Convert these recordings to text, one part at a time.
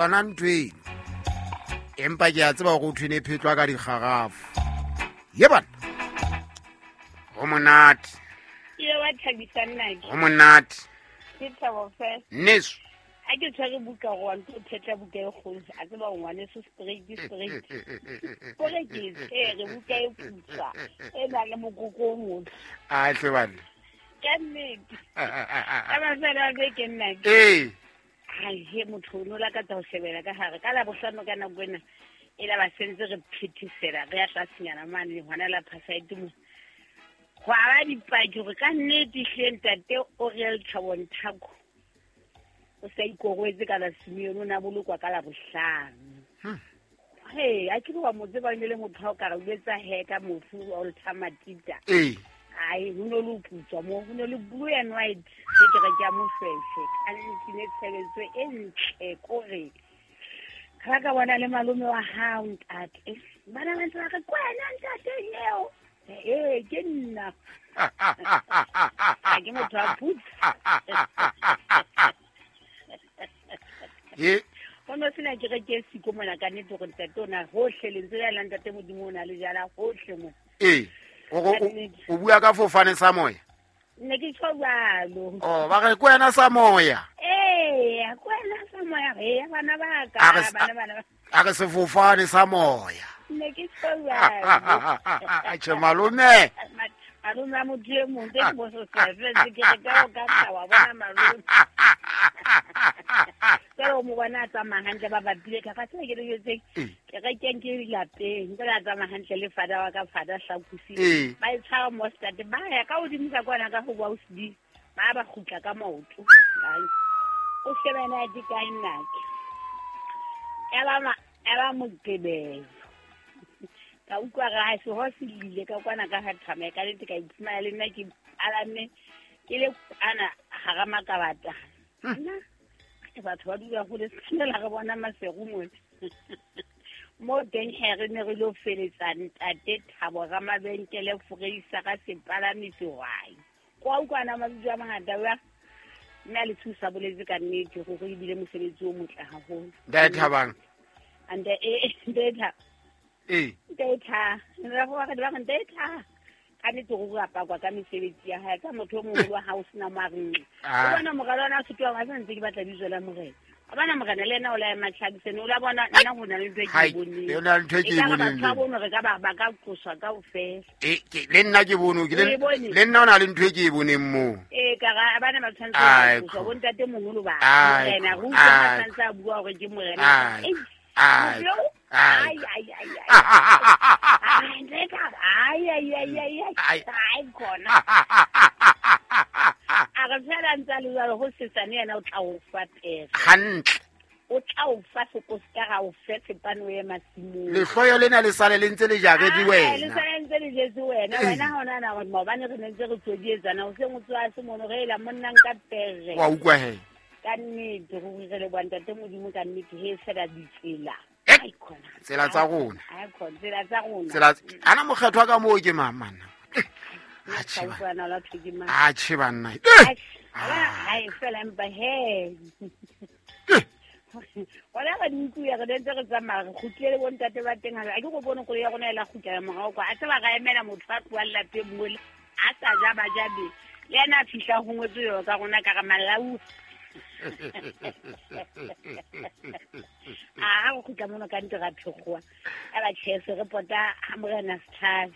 Yona ntho eno, empa ke a tseba gore o thwene e phetlwa ka dikgarafu. Ye bana, go monate. Ke wa thabisa nnake. Go monate. Ke thabo fela. Nneso. A ke tshwere buka go wa ntlo phetla buka e kgolo, a tseba go ngwaneso straight straight. Kore ke e tshwere buka e putswa e nang le mokoko o motsho. A tle bana. Ka nnete. Ka mafelo a beke nnake. Ee. He motho o ne o lakatsa ho shebela ka gare ka labohlano ka nako ena e la ba sentse re phethesela re ya tlasenyana mane hona la phasaete mo go aba dipaki gore ka nnete hle ntate Oriel Thabo Nthako o sa ikorwetse ka la Simeone, o ne a bolokwa ka labohlano. He a ke wa mo tseba, o ne le motho ha o ka re o etsa he ka mofu Walter Matita. Ee. Ai, ho ne le ho putswa mo, ho ne le blue and white ke kereke ya Moshweshwe. Ka nnete ne tshebetso e ntle kore ga ka bona le malome wa hao ntate. Bana ba ntse ba re kwena ntate eo. Ee, ke nna. Ha ke motho wa putsa. Ye. Ho no sena kereke e siko mona ka nnete gore ntate o na hohle, lentswe le la ntate Modimo o na le jala hohle mo. Ee. O bua ka fofane sa moya? Ne ke tjho jwalo. Oh, ba re kwena sa moya. Ee, kwena sa moya re bana ba ka, bana bana. A re sefofane sa moya. Ne ke tjho jwalo. Atjhe malome. Malome a motho e mong, tse ke bososela, fela ke re ka o ka tla wa bona malome. Jwale o mo bona a tsamaya hantle ba bapile ka fa tsela ke le jwetseng. Ke re ke ke lapeng, jwale a tsamaya hantle le fada wa ka, fada Hlakusi. Ba e tshwara mostard, ba ya ka hodimo ka kwana ka ho ba o sedi, ba ba kgutla ka maoto. Ai. O shebana di kae nnake. Ya ba Moqebelo. Ka utlwa re ha se ho se lile ka kwana ka ha thama, ka nnete ka iphumana le nna ke palame ke le kwana hara makabata. Nna ke batho ba dula hole, se tshwanela re bona maseru mona. Mo teng he re ne re lo feletsa ntate Thabo Ramabenkele Foreisa ka sepalami sehwai. Kwa utlwana mabitso a mangata wa mme a le thusa boletse ka nnete gore ebile mosebetsi o motle haholo. Ntate Thabang. Ante ntate Thabo. Ee. Ntate Thabo. Re go re ba ntate Thabo. Ka nnete gore o apakwa ka mesebetsi ya hae, ka motho o moholo wa hao sena mo a reng. O bona moralo ona o setoa, wa santse ke batla bitso la morena. O bona morena le ena o la ema tlhabisene, o la bona nna ho na le ntho e ke e boneng. Le na le ntho e ke e Ekare boneng batho ba le. bono re ka ba ka qoswa kaofela. Ke, le nna ke bone, ke le, O e bone? le nna o na le ntho e ke e boneng moo. Ee, ka ra, ba ne ba tshwanetse ba Ai, qoswa, kho. bo ntate moholo ba. Ai, Morena, kho. re utlwa ba Ai, tshwanetse a bua hore ke morena. Ai, Ei, ai, motho eo? ai. Ai, ai, ai, ai. Ai, ntate, ai, ai, ai, ai, ai. Ai. Ai, khona. A re fela ntse a le jwalo, ho sesane yena o tla o fa pere. Hantle. O tla o fa seko se ka ra o fe sepane o ye masimong. Lehloyo lena le sale le ntse le jaretse Ah, wena. le sale ntse le jetse wena. Ee. Wena ha o nahana hore maobane re ne ntse re tswedietsana, hoseng o tsoha se mono, re ela monna nka pere. Wa utlwa he? Ka nnete, ruri re leboha ntate Modimo ka nnete, he fela ditsela. Eh, Ai, khona. tsela tsa rona. Ai, khona, tsela tsa rona. Tsela tsa, ana mokgethwa ka moo ke mang, manna? Atjhe, Ka banna. utlwana la thwe ke mang? Atjhe, banna. Ai, Eh! ai, fela empa he. Eh! Hona re di utlwile, re ntse re tsamaya, re kgutlile le bontate ba teng hape. Ha ke go bone koloi ya rona e la kgutlela morao kwa. A tseba ra emela motho a tlohang lapeng mole, a sa ja ba ja be. Le yena a fihla ho ngwetswe yona ka rona ka re malau. A ha re kgutla mono ka nnete ra phekgowa. A ba tjhe, se re pota ha morena Sethale.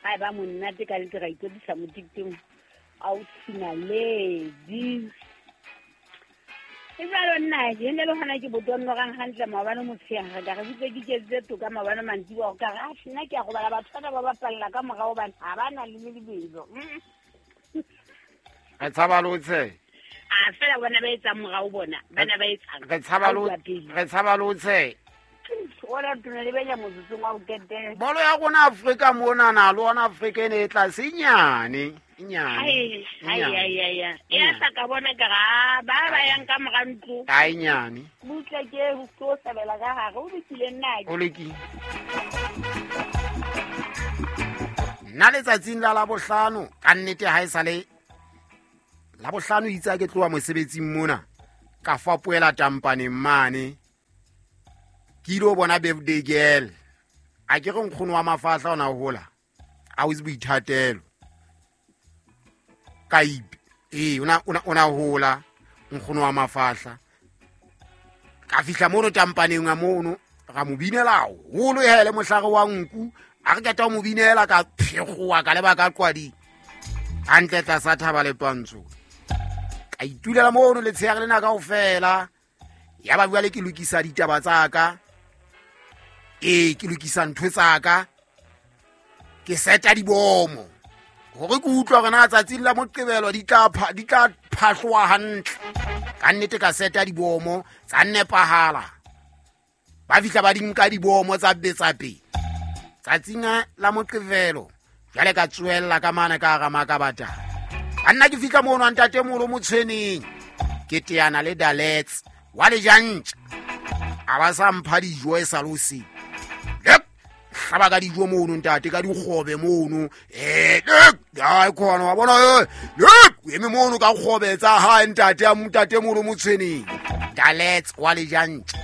Ha e ba monate ka nnete ra ikwetlisa moketeng ausi Naledi. E jwalo nna, ke ne le hona ke botonnorang hantle maobane motshehare, ka re butse ke iketsitse toka maobane mantsiboya, ka re, atjhe, nna ke a robala, batho bana ba bapalla ka morao hobane ha ba na le lebelo. Re tshaba le ho tsheha. A fela bona ba etsang morao bona, bana ba etsang. Re tshaba le ho, Ha o bua pele. re tshaba le ho tsheha. Ona tona le benya motsotsong wa ho qetela. Bolo ya rona Afrika mona na le ona Afrika e ne e tlase e nyane, e nyane, Ai, e ai, nyane. ai, ai, ai. E E a nyane. sa ka bona ka ra, ba ba yang ka mora ntlo. A e nyane. Butle ke ke o sebela ka hare, o lokile nna ke. O lokile. Nna letsatsing la Labohlano, ka nnete ha e sale Labohlano itse ha ke tloha mosebetsing mona, ka fapohela tampaneng mane. Ke ile ho bona birthday girl. A ke re nkgono wa mafahla ona hola a o itse boithatelo ka ipe. Ee, ona hola nkgono wa mafahla. Ka fihla mono tampaneng ya mono, ra mo binela haholo hele mohlare wa nku. A re qeta ho mo binela ka phekgowa ka leba ka qwading hantle tlasa thaba le twantsho. Ka itulela mono letsheare lena kaofela. Ya ba jwale ke lokisa ditaba tsa ka. Ee, ke lokisa ntho tsa ka. Ke seta dibomo hore ke utlwa hore na tsatsing la Moqebelo di tla phahloha hantle. Ka nnete ka seta dibomo tsa nepahala. Ba fihla ba di nka dibomo tsa betsa pele. Tsatsing la Moqebelo jwale ka tsoella ka mane ka hara Makabatana. Banna ke fihla mono ntate moholo Motshweneng. Ke teana le Dalets wa lejantja. A ba sa mpha dijo e sa le hoseng. Hlaba ka dijo mono ntate, ka dikgobe mono. Ai khona wa bona, o eme mono ka kgobe tsa hae ntate, a ntate moholo Motshweneng. Dalets wa lejantja.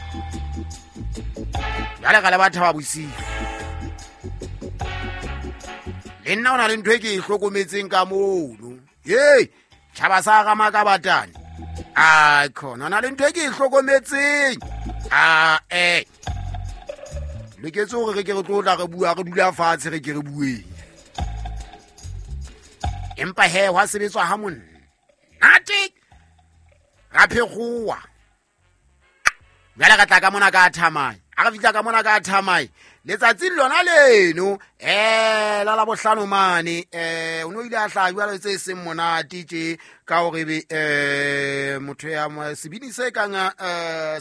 Jwale ka le batho ba bosiu. Le nna ho na le ntho e ke e hlokometseng ka mono. Hei, tjhaba sa hara Makabatane. Ai khona, ho na le ntho e ke e hlokometseng. A Loketse hore re ke re tlo tla re bua, re dula fatshe re ke re bueng. Empa he hwa sebetswa ha monate. Ra phekgowa. Jwale ka tla ka mona ka thamai. A re fihla ka mona ka thamai. Letsatsing lona leno, la Labohlano mane, o no ile a hlaha jwale tse seng monate tje ka hore be motho ya sebini se kang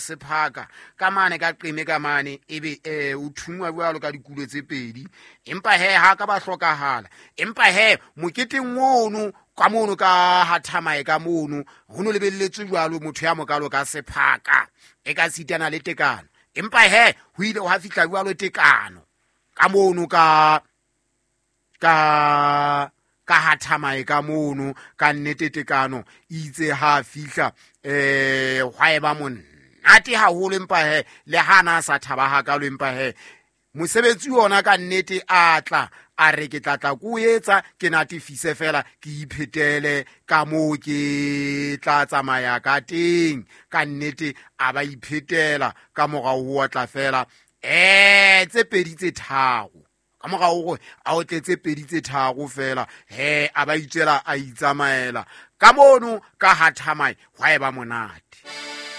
sephaka ka mane ka qeme ka mane ebe o thungwa jwalo ka dikulo tse pedi. Empa he ha ka ba hlokahala. Empa he moketeng ono ka mono ka ha thamae ka mono ho no lebelletswe jwalo motho ya mokalo ka sephaka e ka sitana le tekano. Empa he ho ile hwa fihla jwalo tekano ka mono ka ka ka ha thamae ka mono ka nnete tekano itse ha fihla hwa eba monate haholo. Empa he le ha na sa thaba hakalo, empa he mosebetsi ona ka nnete a tla a re ke tla tla ko etsa ke natefise fela ke iphetele ka moo ke tla tsamaya ka teng. Ka nnete a ba iphetela ka morao ho tla fela tse pedi tse tharo ka morao hore a o tletse pedi tse tharo fela he a ba itswela a itsamaela ka mono ka ha thamai hwa eba monate.